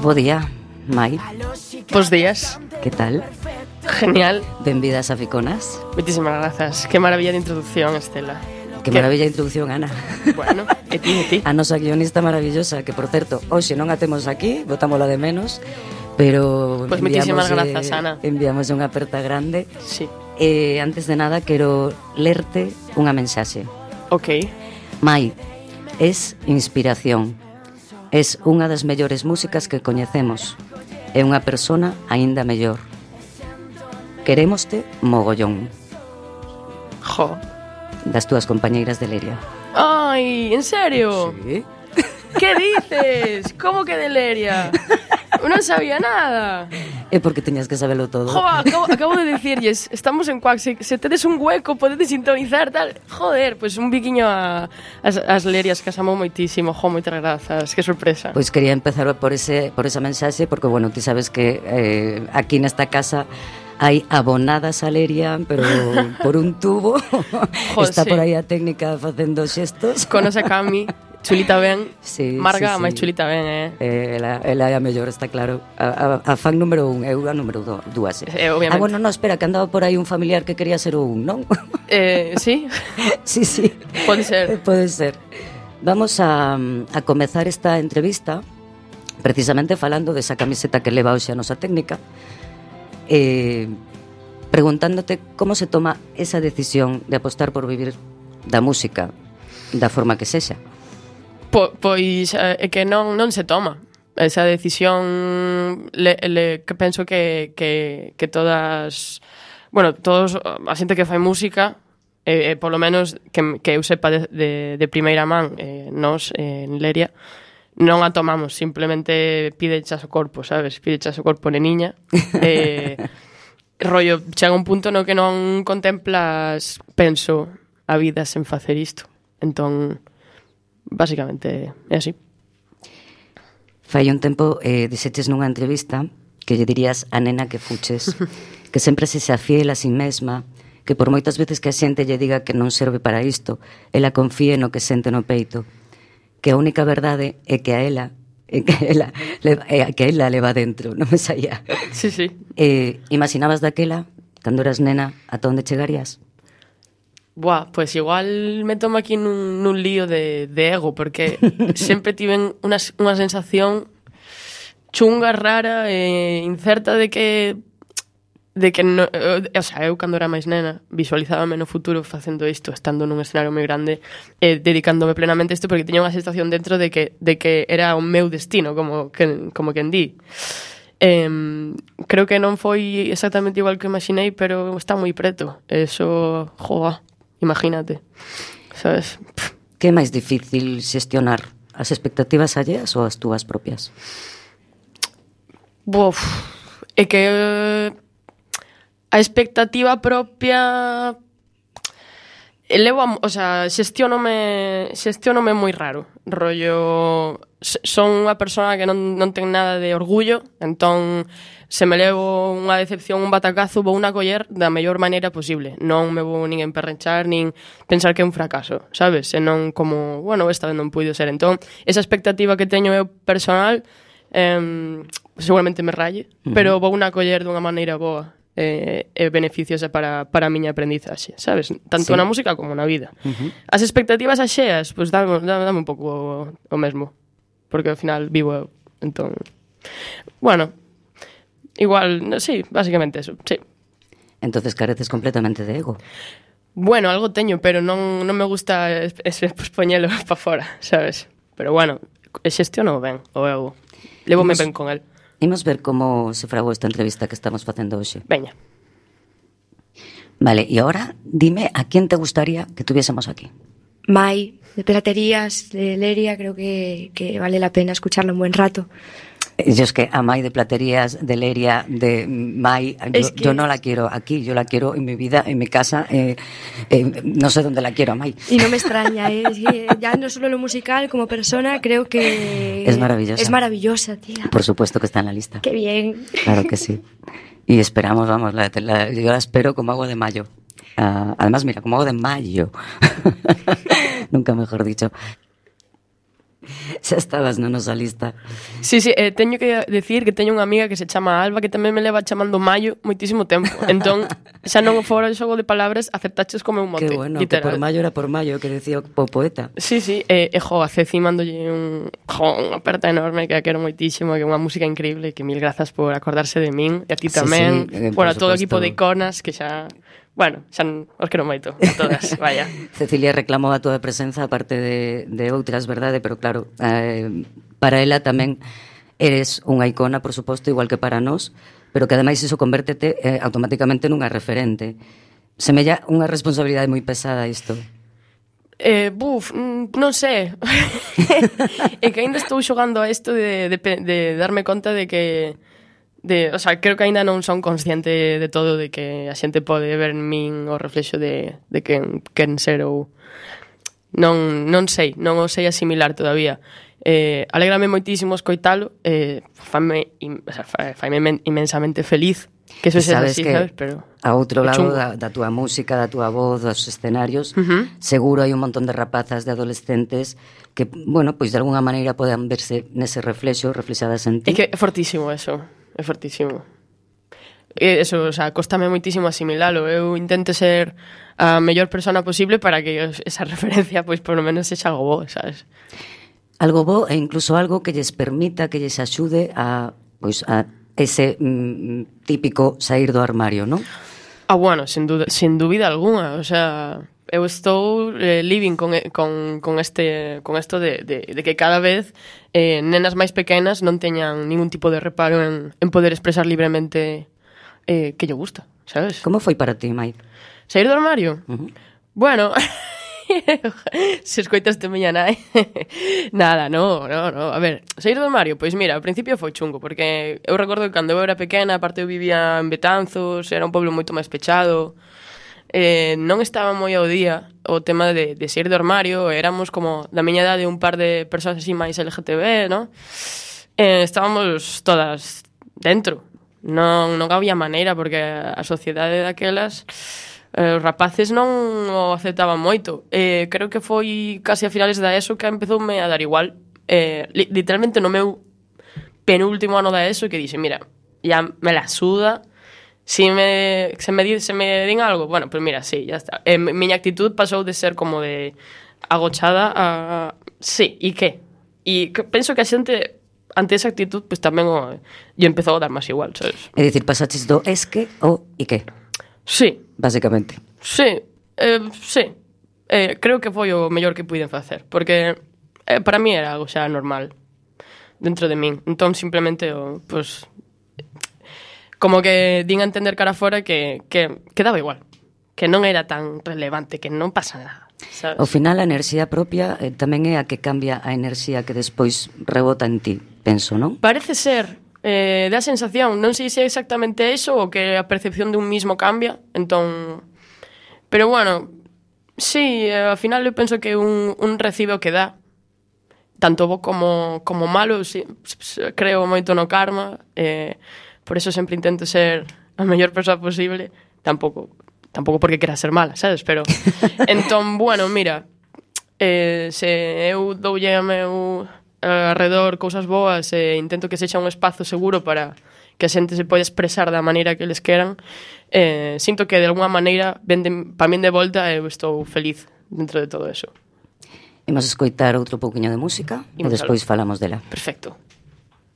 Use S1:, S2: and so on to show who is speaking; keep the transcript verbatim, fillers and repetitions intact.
S1: Bo día, Mai.
S2: Bos días.
S1: Que tal?
S2: Genial.
S1: Benvidas a Ficonas.
S2: Moitísimas grazas. Que maravilla de introducción, Estela.
S1: Que maravilla de introducción, Ana.
S2: Bueno, e ti, e ti.
S1: A nosa guionista maravillosa, que por certo, hoxe non a temos aquí, botámola de menos, pero
S2: Pois moitísimas grazas, Ana.
S1: Enviamos unha aperta grande.
S2: Sí.
S1: E antes de nada quero lerte unha mensaxe.
S2: Ok.
S1: Mai, es inspiración. Es unha das mellores músicas que coñecemos. É unha persona aínda mellor. Querémoste mogollón.
S2: Jo.
S1: Das túas compañeiras de Leria.
S2: Ai, en serio?
S1: Sí.
S2: Que dices? Como que de Leria? Non sabía nada.
S1: É porque teñas que sabelo todo.
S2: Jo, acabo, acabo de dicirlles, estamos en Cuac, se, se tedes un hueco, podedes sintonizar, tal. Joder, pois pues un biquiño a, as, as Lerias, que as amo moitísimo. Jo, moitas grazas, que sorpresa.
S1: Pois quería empezar por ese por esa mensaxe, porque, bueno, ti sabes que eh, aquí nesta casa hai abonadas a Leria, pero por un tubo.
S2: Jo,
S1: está
S2: sí.
S1: Por aí a técnica facendo xestos.
S2: Conoce a Cami. Chulita ben,
S1: sí,
S2: Marga,
S1: sí, sí.
S2: máis chulita ben, eh?
S1: eh ela, ela é a mellor, está claro. A, a, a fan número un, eu a número do, dúas.
S2: Eh, obviamente.
S1: Ah, bueno, no, espera, que andaba por aí un familiar que quería ser o un, non?
S2: Eh, sí?
S1: Sí, sí.
S2: Pode ser.
S1: Pode ser. Vamos a, a comezar esta entrevista precisamente falando desa camiseta que leva hoxe a nosa técnica, eh, preguntándote como se toma esa decisión de apostar por vivir da música da forma que sexa.
S2: Po, pois é que non, non se toma esa decisión. Le, le, que penso que, que, que todas, bueno, todos a xente que fai música, eh, eh, polo menos que, que eu sepa de, de, de primeira man, eh, nos eh, en Leria non a tomamos, simplemente pidechas o corpo, sabes? Pidechas o corpo neniña. eh, rollo, chega un punto no que non contemplas, penso, a vida sen facer isto. Entón, básicamente é así.
S1: Fai un tempo eh, dixeches nunha entrevista que lle dirías a nena que fuches, que sempre se xa fiel a si mesma, que por moitas veces que a xente lle diga que non serve para isto, ela confíe no que sente no peito, que a única verdade é que a ela é que ela leva, é que ela leva dentro, non me saía.
S2: Sí, sí.
S1: Eh, imaginabas daquela, cando eras nena, ata onde chegarías?
S2: Buah, pues igual me tomo aquí nun, nun lío de, de ego, porque sempre tiven unha, unha sensación chunga, rara e incerta de que de que no, o sea, eu cando era máis nena visualizábame no futuro facendo isto, estando nun escenario moi grande e eh, dedicándome plenamente a isto, porque teña unha sensación dentro de que, de que era o meu destino, como que, como quen di. Eh, creo que non foi exactamente igual que imaginei, pero está moi preto. Eso, joa, imagínate, sabes?
S1: Que é máis difícil xestionar, as expectativas alleas ou as túas propias?
S2: Buf, é que eh, a expectativa propia levo a, o sea, xestionome xestionome moi raro, rollo son unha persona que non, non ten nada de orgullo, entón se me levo unha decepción, un batacazo, vou unha coller da mellor maneira posible, non me vou nin emperrenchar, nin pensar que é un fracaso, sabes? E non como, bueno, esta vez non puido ser. Entón, esa expectativa que teño eu personal eh, seguramente me ralle, uh-huh. pero vou unha coller dunha maneira boa e eh, beneficiosa para, para a miña aprendizaxe, sabes? Tanto sí. na música como na vida. Uh-huh. As expectativas axeas, pois pues, dame, dame un pouco o, o mesmo, porque ao final vivo eu. Entón, bueno, igual, sí, básicamente eso, sí.
S1: Entonces careces completamente de ego.
S2: Bueno, algo teño, pero non, non me gusta ese pues, poñelo para fora, sabes? Pero bueno, xestiono ben o ego. Levome ben con el.
S1: Imos ver como se fragou esta entrevista que estamos facendo hoxe.
S2: Veña.
S1: Vale, e agora dime a quién te gustaría que tuviésemos aquí.
S3: Mai, de Platerías, de Leria, creo que, que vale la pena escucharlo un buen rato.
S1: Yo es que a Mai de Platerías, de Leria, de Mai, yo, es que... yo no la quiero aquí, yo la quiero en mi vida, en mi casa, eh, eh, no sé dónde la quiero a Mai.
S3: Y no me extraña, ¿eh? Es que ya no solo lo musical, como persona, creo que...
S1: Es maravillosa.
S3: Es maravillosa, tía.
S1: Por supuesto que está en la lista.
S3: Qué bien.
S1: Claro que sí. Y esperamos, vamos, la, la, yo la espero como agua de mayo. Uh, además, mira, como agua de mayo. Nunca mejor dicho. Xa estabas na nosa lista.
S2: Sí, sí, eh, teño que decir que teño unha amiga que se chama Alba que tamén me leva chamando Maio moitísimo tempo. Entón, xa non fora o xogo de palabras, acertaches como un mote.
S1: Que bueno,
S2: literal.
S1: que por Maio era por Maio, que decía o poeta.
S2: Sí, sí, e, e jo, a Ceci mandolle un, jo, unha aperta enorme que a quero moitísimo, que é unha música increíble, que mil grazas por acordarse de min, e a ti tamén.
S1: Sí, sí, eh,
S2: bueno, a todo o
S1: supuesto.
S2: equipo de iconas, que xa... Bueno, xa os quero moito, a todas, vaya.
S1: Cecilia reclamou a túa presenza aparte de, de outras, verdade? Pero claro, eh, para ela tamén eres unha icona, por suposto, igual que para nós, pero que ademais iso convértete eh, automáticamente nunha referente. Semella unha responsabilidade moi pesada isto.
S2: Eh, buf, non sei. É que ainda estou xogando a isto de, de, de darme conta de que... De, o sea, creo que aínda non son consciente de todo, de que a xente pode ver en min o reflexo de, de quen, quen ser ou... Non, non sei, non o sei asimilar todavía. Eh, alégrame moitísimo escoitalo, eh, faime, o sea, faime imensamente feliz que eso é así, sabes? Pero
S1: a outro lado da, da túa música, da túa voz, dos escenarios, uh-huh. seguro hai un montón de rapazas, de adolescentes que, bueno, pois de alguna maneira poden verse nese reflexo, reflexadas en ti.
S2: É que é fortísimo eso. É fortísimo. E eso, o sea, costame moitísimo asimilalo. Eu intento ser a mellor persona posible para que esa referencia, pois, por lo menos, sexa algo bo, sabes?
S1: Algo bo e incluso algo que lles permita, que lles axude a, pois, a ese mm, típico sair do armario, non?
S2: Ah, bueno, sin duda, sin dúbida alguna. O sea, eu estou eh, living con, con, con este con esto de, de, de que cada vez eh, nenas máis pequenas non teñan ningún tipo de reparo en, en poder expresar libremente eh, que lle gusta, sabes?
S1: Como foi para ti, Mai?
S2: Sair do armario?
S1: Uh-huh.
S2: Bueno, se escoitaste miña nai. Nada, no, no, no. A ver, sair do armario, pois mira, ao principio foi chungo, porque eu recordo que cando eu era pequena, aparte eu vivía en Betanzos, era un pueblo moito máis pechado, eh, non estaba moi ao día o tema de, de sair do armario, éramos como da miña idade un par de persoas así máis L G T B, ¿no? Eh, estábamos todas dentro, non, non había maneira, porque a sociedade daquelas... Eh, os rapaces non o aceptaban moito. Eh, creo que foi casi a finales da ESO que empezoume a dar igual. Eh, li, literalmente no meu penúltimo ano da ESO que dixe, mira, ya me la suda. Si me, se, me, se me din algo, bueno, pues mira, sí, ya está. Eh, miña actitud pasou de ser como de agochada a... Sí, e que? E que, penso que a xente ante esa actitud pues tamén o, yo empezou a dar máis igual, sabes?
S1: É dicir, pasaches do esque ao e que?
S2: Sí.
S1: Básicamente.
S2: Sí, eh, sí. Eh, creo que foi o mellor que puiden facer, porque eh, para mí era algo xa normal dentro de min. Entón, simplemente, oh, pues, como que din a entender cara fora que, que, que daba igual, que non era tan relevante, que non pasa nada, sabes?
S1: Ao final, a enerxía propia eh, tamén é a que cambia a enerxía que despois rebota en ti, penso, non?
S2: Parece ser... Eh, da sensación, non sei se é exactamente eso ou que a percepción de un mismo cambia, entón... Pero bueno, sí, eh, ao final eu penso que un, un recibe o que dá, tanto bo como, como malo, sí, creo moito no karma, eh, por eso sempre intento ser a mellor persoa posible, tampouco, tampouco porque quera ser mala, sabes? Pero, entón, bueno, mira, eh, se eu doulle a meu... alrededor cousas boas e intento que sexa un espazo seguro para que a xente se poida expresar da maneira que eles queran, eh, sinto que de alguna maneira venden pa min de volta e eu estou feliz dentro de todo eso.
S1: Imos escoitar outro pouquiño de música e despois falamos dela.
S2: Perfecto.